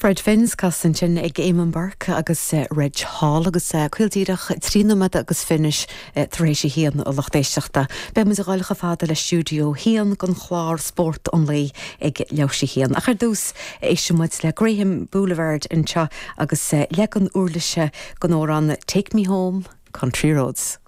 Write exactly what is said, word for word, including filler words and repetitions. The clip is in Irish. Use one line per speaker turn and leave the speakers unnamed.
Fred Finn's cas ansin ag Eamon Burke agus uh, Reg Hall agus uh, caol díreach trí nóiméad agus fiche uh, tar éis a haon a lucht éisteachta. Beidh muid ag dul chomh fada le stiúideo a haon don chlár spórt an lae ag leathuair théis a haon. Ach ar dtús éistfidh muid le Graham Boulevard anseo agus uh, leagan uirlise den amhrán Take Me Home Country Roads.